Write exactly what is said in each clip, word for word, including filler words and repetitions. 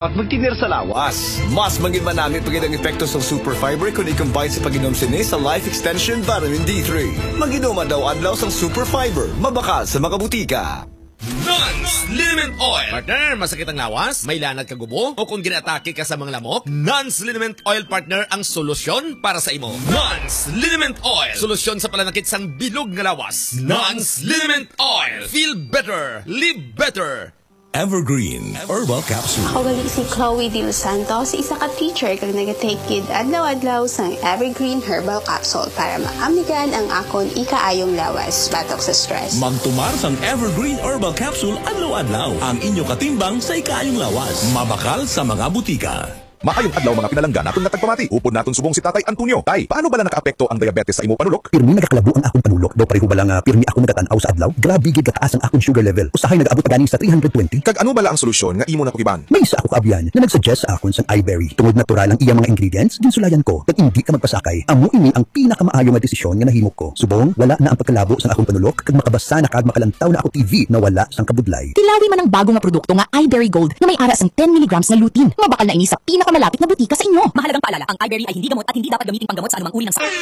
At magtinir sa lawas. Mas mangin manami pa gid ang epekto sang Super Fiber kon i-combine sa pag-inom sini sa Life Extension Vitamin D three. Mag-inom adlaw-adlaw sang Super Fiber, mabakal sa mga butika. Non's Liniment Oil. Partner, masakit ang lawas? May lanat ka gubo? O kung ginaatake ka sa mga lamok? Non's Liniment Oil, partner, ang solusyon para sa imo. Non's Liniment Oil. Solusyon sa palanakit sang bilog nga lawas. Non's Liniment Oil. Feel better. Live better. Evergreen Herbal Capsule. Ako gali si Chloe De Los Santos, isa ka teacher kag nagatake gid adlaw-adlaw sang Evergreen Herbal Capsule para maamnigan ang akon ikaayong lawas batok sa stress. Magtumar sang Evergreen Herbal Capsule adlaw-adlaw, ang inyo katimbang sa ikaayong lawas. Mabakal sa mga butika. Maayong adlaw, mga pinalangga naton nga tagpamati. Upod naton subong si Tatay Antonio. Tay, paano bala nakaapekto ang diabetes sa imo panulok? Pirmi nagakalabo ang akon panulok. Daw pareho bala nga pirmi ako nagatan-aw sa adlaw? Grabe gid kataas ang akon sugar level. Usahay nag-abot pa gani sa three hundred twenty. Kag ano bala ang solusyon nga imo nakugiban? May isa ako kaabyan nga nag-suggest sa akon sang iBerry. Tungod natural ang iyang mga ingredients, ginsulayan ko. Kag indi ka magpasakay. Amo ini ang pinakamaayo nga desisyon nga nahimo ko. Subong, wala na ang pagkalabo sang akon panulok, kag makabasa na kag makalantaw na ako T V na wala sang kabudlay. Tilawi man ang bago nga produkto nga iBerry Gold nga may ara sang ten milligrams nga lutein. Mabakal na ini sa pinakamalapit nga butika sa inyo. Mahalagang paalala, ang iBerry ay hindi gamot at hindi dapat gamiting panggamot sa anumang uri ng sakit.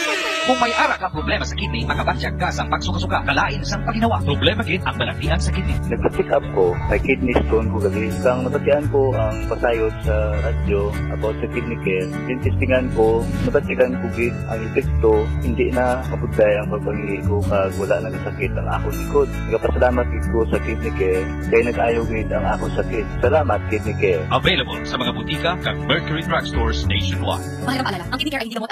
Kung may ara ka problema sa kidney, makabatyag ka sa pagsuka-suka, kalain sang paginawa. Problema gid ang balatian sa kidney. Nagpa-check up ko, may kidney stone ko gali. Sang nabatian ko ang pasayod sa radyo about sa Kidney Care, ginistingan ko, nabatyagan ko gid ang epekto, hindi na mabudlay ang pagpangili ko kag wala na kasakit ang akon likod. Nagapasalamat gid ko sa Kidney Care kay nag-ayo gid ang akon sakit. Salamat, Kidney Care. Available sa mga butika kag Mercury Drugstores nationwide. Mahalagang paalala, ang Kidney Care ay hindi gamot at